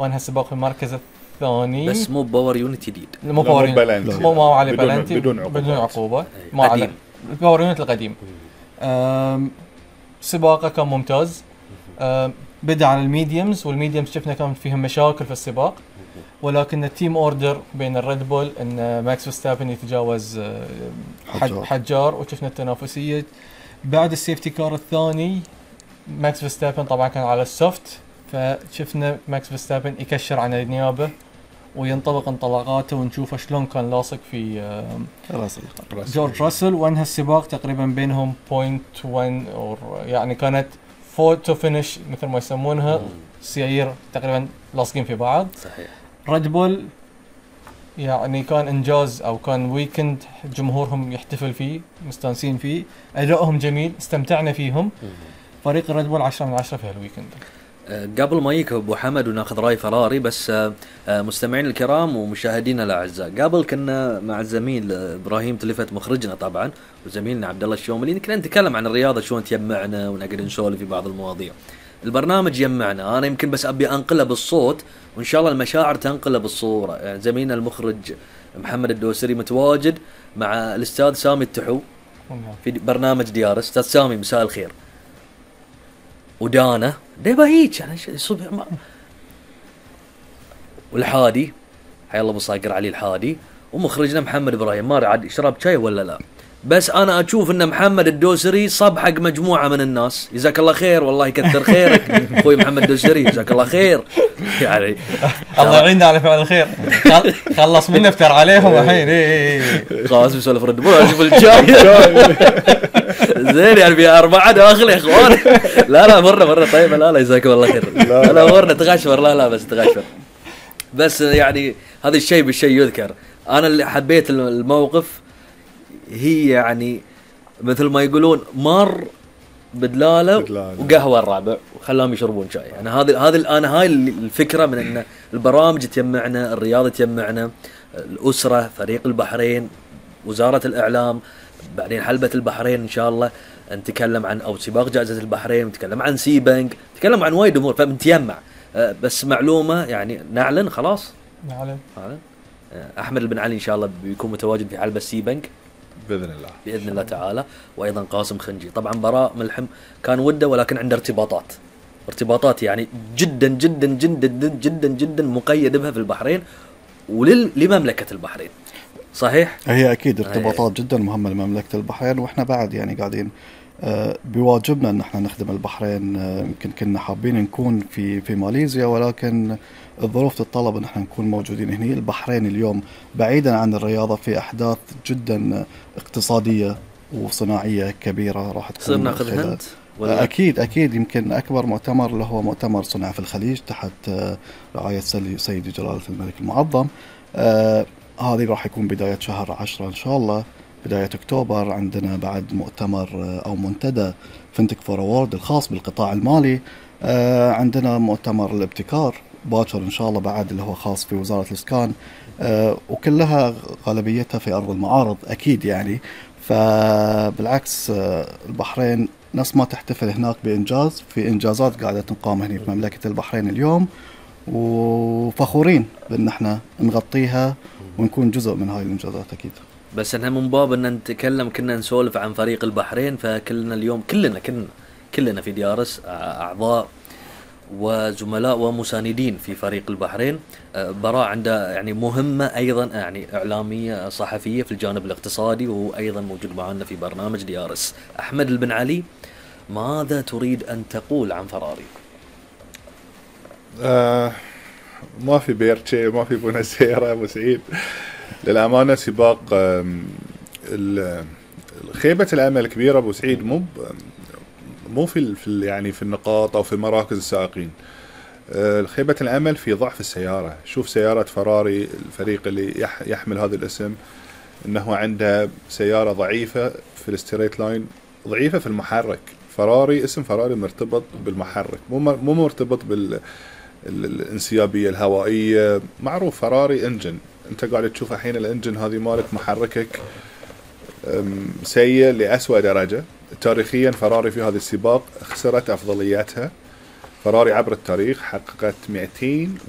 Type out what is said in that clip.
وانهى السباق في المركز الثاني. بس مو باور يونت جديد، مو باور يونت، مو عليه بلانتي بدون عقوبة ما على الباور يونت القديم. سباقه كان ممتاز. بدأ على الميديومز، والميديومز شفنا كان فيهم مشاكل في السباق، ولكن التيم اوردر بين الريد بول ان ماكس فيرستابن يتجاوز حجار، وشفنا التنافسية. بعد السيفتي كار الثاني ماكس فيرستابن طبعا كان على السوفت، فشفنا ماكس فيرستابن يكشر عن النيابة وينطلق انطلاقاته، ونشوف شلون كان لاصق في جورج راسل. وانهى السباق تقريبا بينهم 0.1 يعني كانت فوتو فينيش مثل ما يسمونها، سيير تقريبا لاصقين في بعض. صحيح. ريد بول يعني كان انجاز، او كان ويكند جمهورهم يحتفل فيه، مستانسين فيه، ادائهم جميل، استمتعنا فيهم. فريق ريد بول 10 من 10 في هالويكند. قبل ما يجي ابو حمد وناخذ راي فراري، بس مستمعين الكرام ومشاهدينا الاعزاء، قبل كنا مع الزميل ابراهيم تلفت مخرجنا طبعا وزميلنا عبد الله الشوملي، كنا نتكلم عن الرياضه شلون تجمعنا ونقدر نسولف في بعض المواضيع. البرنامج يجمعنا، انا يمكن بس ابي انقله بالصوت، وان شاء الله المشاعر تنقله بالصوره. يعني زميلنا المخرج محمد الدوسري متواجد مع الاستاذ سامي التحو في برنامج ديار. استاذ سامي مساء الخير. ودانا ديبا هيك يعني صبح والحادي حي الله بصاقر علي الحادي، ومخرجنا محمد ابراهيم. ما عاد يشرب شاي ولا لا، بس انا اشوف ان محمد الدوسري صب حق مجموعه من الناس. جزاك الله خير، والله يكثر خيرك اخوي محمد الدوسري، جزاك الله خير. يعني الله يعيننا على فعل الخير. خلص منا افتر عليهم الحين. خلاص بسولف رد بول اشوف الشاي زين يعني في 4 داخل يا اخوان. لا مره طيب. لا جزاكم الله خير. لا مرة تغشفر. لا بس تغشفر. بس يعني هذا الشيء بالشيء يذكر. انا اللي حبيت الموقف، هي يعني مثل ما يقولون مر بدلاله وقهوه الرابع وخلاهم يشربون شاي. يعني هذه انا هاي الفكره من ان البرامج تجمعنا، الرياضه تجمعنا، الاسره، فريق البحرين، وزاره الاعلام، بعدين حلبة البحرين إن شاء الله نتكلم عن أو سباق جائزة البحرين، نتكلم عن سي بنك، نتكلم عن وايد أمور، فبنتجمع. بس معلومة يعني نعلن خلاص. نعلن. أحمد بن علي إن شاء الله بيكون متواجد في حلبة سي بنك بإذن الله تعالى، وأيضا قاسم خنجي. طبعا براء ملحم كان وده، ولكن عنده ارتباطات يعني جدا جدا جدا جدا جدا مقيد بها في البحرين ولمملكة البحرين. صحيح. هي أكيد ارتباطات جدا مهمة لمملكة البحرين، وإحنا بعد يعني قاعدين بواجبنا أن احنا نخدم البحرين. يمكن كنا حابين نكون في ماليزيا، ولكن الظروف تتطلب أن احنا نكون موجودين هنا. البحرين اليوم بعيدا عن الرياضة في أحداث جدا اقتصادية وصناعية كبيرة راح تكون. صرنا ناخذ هند أكيد يمكن أكبر مؤتمر اللي هو مؤتمر صنع في الخليج تحت رعاية سيدي جلالة الملك المعظم. هذه راح يكون بداية شهر 10 إن شاء الله، بداية أكتوبر. عندنا بعد مؤتمر أو منتدى فينتك فور أورد الخاص بالقطاع المالي. عندنا مؤتمر الابتكار باكر إن شاء الله بعد، اللي هو خاص في وزارة الإسكان. وكلها غالبيتها في أرض المعارض أكيد يعني. فبالعكس البحرين ناس ما تحتفل هناك بإنجاز، في إنجازات قاعدة تنقام هنا في مملكة البحرين اليوم، وفخورين بأن احنا نغطيها ونكون جزء من هاي الإنجازات أكيد. بس احنا من باب ان نتكلم كنا نسولف عن فريق البحرين، فكلنا اليوم كلنا في ديارس أعضاء وزملاء ومساندين في فريق البحرين. براء عنده يعني مهمة أيضا يعني إعلامية صحفية في الجانب الاقتصادي، وهو أيضا موجود معنا في برنامج ديارس. أحمد بن علي، ماذا تريد أن تقول عن فراري؟ ما في بيرتشي، ما في بونسيرة أبو سعيد للأمانة. سباق خيبة الأمل كبيرة أبو سعيد، مو في يعني في النقاط أو في مراكز السائقين. خيبة الأمل في ضعف السيارة. شوف سيارة فراري، الفريق اللي يحمل هذا الاسم، إنه عنده سيارة ضعيفة في الستريت لاين، ضعيفة في المحرك. فراري، اسم فراري مرتبط بالمحرك، مو مرتبط بالانسيابية الهوائية. معروف فراري انجن، انت قاعد تشوف الحين الانجن هذه مالك محركك سيء لأسوأ درجة. تاريخيا فراري في هذا السباق خسرت أفضلياتها. فراري عبر التاريخ حققت 200